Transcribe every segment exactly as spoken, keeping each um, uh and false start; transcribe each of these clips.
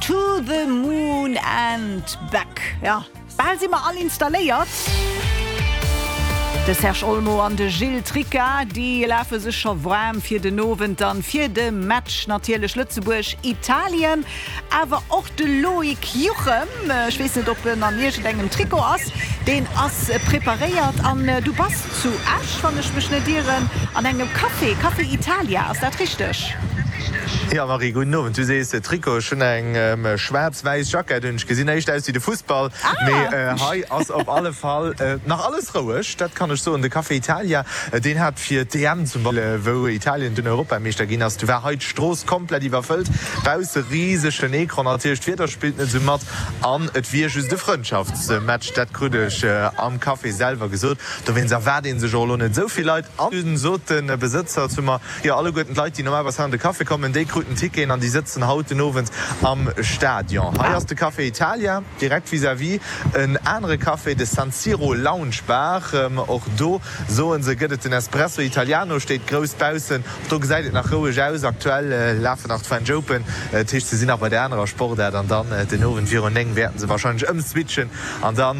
To the moon and back. Ja, bal si mer all installéiert. De Serge Olmo an de Gilles Tricca, déi lafe sech scho waarm fir den Owend dann fir de Match natierlech Lëtzebuerg-Italien. Awer och de Loïc Juchem, ech weess net, ob en an iergendengem Trikot ass, deen ass preparéiert. An du bass zu Esch, wann ech mech net ieren, an engem Café, Café Italia, ass dat richteg? Jo Marie, gudden Owend. Du sees Trikot, ech hunn eng schwaarz-wäiss Jackett un. Ech gesinn éischt aus wéi de Fussball, mee hei ass op alle Fall nach alles roueg, dat kann ech soen. De Café Italia, deen hat fir d'E M zum Beispill, wou Italien dunn Europameeschter ginn ass, du war hei d'Strooss komplett iwwerfëllt, bausse risegen Ecran. Natierlech d'Wieder spillt net esou mat an et wier just e Frëndschaftsmatch, dat krut ech am Café selwer gesot. Dowéinst erwaart ee sech och elo net esou vill Leit. An dunn sot de Besëtzer zu mer, jo alleguerten d'Leit, déi normalerweis hei an de Café kommen, déi kruten Ticketen an déi sëtzen haut den Owend am Stadion. Hei ass de Café Italia, direkt vis-à-vis en anere Café, de San Siro Lounge Bar. Och do, soen se, gëtt et den Espresso Italiano, steet grouss baussen. Och do gesäit et nach roueg aus. Aktuell lafen nach d'French Open, dat heescht se sinn nach bei der anerer Sportaart an dann den Owend virun néng wäerten se wahrscheinlech ëmswitchen an da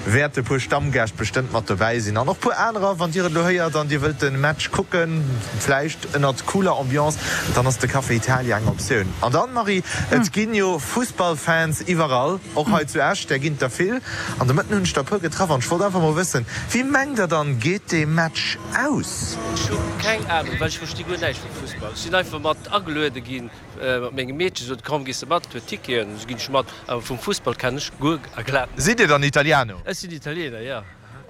wäerte puer Stammgäscht bestëmmt mat dobäi sinn an och puer anerer. Wann dir et elo héiert an dir wëllt de Match kucken, vläicht ënnert cooler Ambiance, dann ass de Café Italia eng Optioun. An dann, Marie, et ginn jo Fussballfans iwwerall, och hei zu Esch, där ginn et der vill. An de Mëtten hunn ech der e puer getraff an ech wollt einfach mol wëssen, Wéi mengt der dann, geet dee Match aus? Ech hu keng Ahnung, well ech versti guer näischt vum Fussball. Ech sinn einfach mat ageluede ginn mat mengem Meedche, sot komm gees de mat, huet Ticketen, esou ginn ech mat. Awer vum Fussball kennen ech guer a glat näischt. Sidd Dir dann Italiano? Ech sinn Italiener, jo.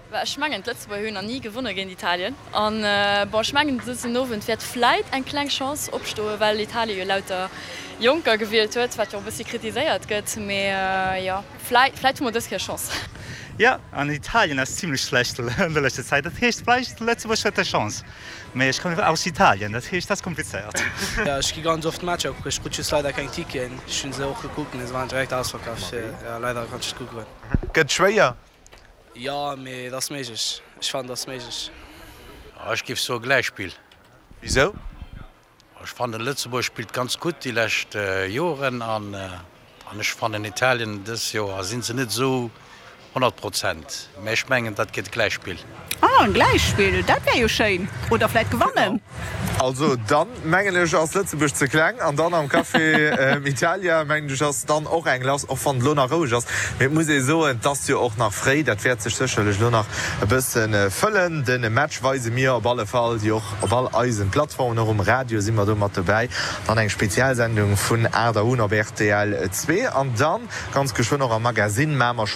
Well ech mengen, d'Lëtzebuerger hunn nach ni gewonne géint Italien. An bon, ech mengen, dësen Owend wäert vläit eng kleng Chance opstoen, well Italien jo lauter Jonker gewielt huet, wat jo och e bëssi kritiséiert gëtt. Mee jo, vläit, vläit hu mer dës Kéier Chance. Jo, an Italien ass zimlech schlecht an der leschter Zäit. Dat heescht, vläicht Lëtzebuerg huet eng Chance. Mee ech kommen aus Italien, dat heescht, dat ass komplizéiert. Jo, ech gi ganz oft Matcher kucken. Ech krut just leider keng Ticketen. Ech hunn se och gekuckt, mee se waren direkt ausverkaaft. Jo, leider konnt ech net kucke goen. Gëtt schwéier. Jo, mee et ass méiglech. Ech fannen, et ass méiglech. Ech géif soe Gläichspill. Wisou? Ech fannen Lëtzebuerg spillt ganz gutt déi lescht Joren an ech fannen Italien dës Joer sinn se net esou honnert Prozent, mä ech mengen dat gëtt e Gläichspill. Ah, en Gläichspill, dat wär jo schéin. Oder vläit gewannen. Also dann mengen ech ass Lëtzebuerg ze kleng an dann am Café Italia mengen ech ass dann och eng lass, och wann et elo nach roueg ass. Mee et muss ee soen, et ass jo och nach fréi, dat wäert sech sécherlech elo nach e bësse fëllen. De Match weise mir op alle Fall jo och op all eisen Plattformen, och um Radio si mer do mat dobäi. Dann eng Spezialsendung vun aacht Auer un op rtl zwee an dann ganz geschwënn och am Magasinn maache mer schonn.